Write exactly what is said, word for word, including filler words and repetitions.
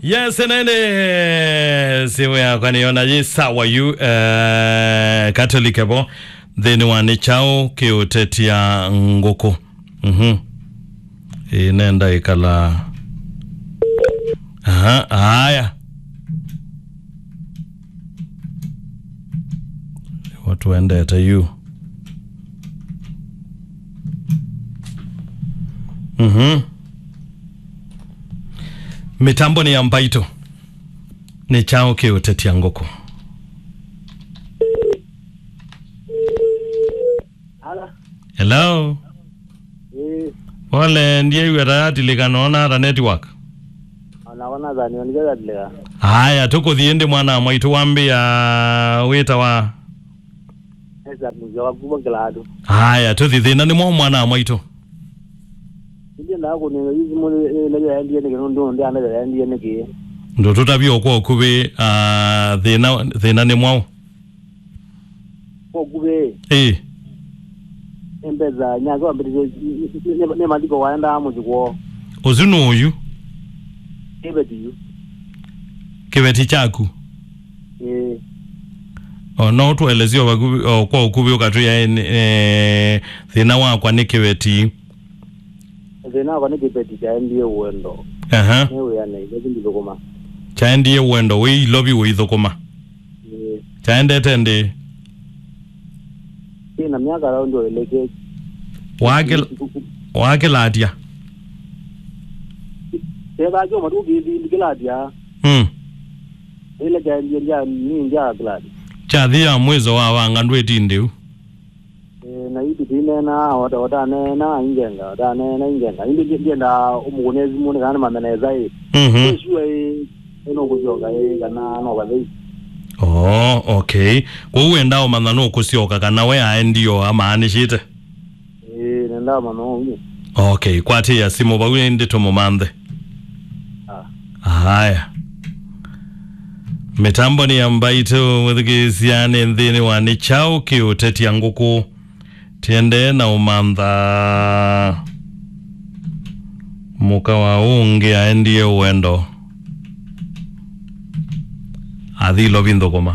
Yes, nene simu yakwa nĩyona yĩ sawa yu, eh, Catholic vo nthĩnĩ wa nĩ kyaũ kĩũtetia ngũkũ. Mhm. Ĩ, nenda ĩkala. Aha, aya. Watu wendete yu. Mhm. Mĩtambo nĩ ya mbaitũ. Nĩ kyaũ kĩũtetia ngũkũ? Ala. Hello. Ĩĩ. Pole, ndiaiw'a ta yatilĩka, noona ata network? Ona wana thani, onike yatilĩka. Aya, tũkũthi ĩndĩ mwana wa mwaitũ wambĩa wĩta wa? Esa mzee wa kubwa kila atu. Aya, tũthi thĩna nĩ mwaũ mwana wa mwaitũ? Ndiendaa kũnenga yu simũ nĩ, nĩ, nĩ yaendie nĩkĩ, nũndũ ndiana yaendie nĩkĩ. Ndũtũtavye kwa ũkuvĩ, ah, thĩna, thĩna nĩ mwaũ? Kwa ũkuvĩ. Ĩĩ. Embesa nyake wambĩtĩte nĩ, nĩ, nĩ maliko waendaa mũsyĩ kwoo. Ũsu nũũ yu? Kĩveti yu. Kĩveti kyaku? Ĩĩ. O, no ũtũelesye o vakuvĩ, o, kwa ũkuvĩ ũkatwĩa, eh, thĩna wakwa nĩ kĩveti. Thĩna wakwa nĩ kĩveti kyaendie ũendo. Aha. Nĩ wĩanĩ, ĩla ndithũkũma. Kyaendie ũendo, wĩ Ilovi ũithũkũma? Ĩĩ. Kyaendete ndĩ? Ĩna myaka around o ĩlĩ. Wakĩl-, wakĩlatya? Kethaa kyoma tu kĩthi ndikĩlatya. Mm. Ĩla kyaendie ndya, ni ndya glad. Kyathi ya mwĩso wa wanga ndwĩtindĩu. Eh, na yu tũtineenaa, ota-, ũtaneena ingenga, ũtaneena ingenga. Ĩndĩ ndi-, ndienda ũmũkũne simũ nĩ kana nĩmanye nesa ĩ. Mhm. Wĩsua ĩ, ĩ nũkũsyoka ĩ, kana no vathei. Oh, okay. Kwoou wenda ũmanya nũkũsyoka kana we aendie o amaanĩsĩte? Ĩĩ, nenda ũmanya ũu. Okay, kwatĩĩa simũ vau ĩndĩ tũmũmanthe. Ah. Haya. Mĩtambo nĩ ya mbaitũ, mwĩthukĩĩsya nĩ nthĩnĩ wa nĩ kyaũ kĩũtetia ngũkũ. Tiendee na ũmantha mũka wa ũngĩ aendie ũendo. Athi Ilovi nthũkũma.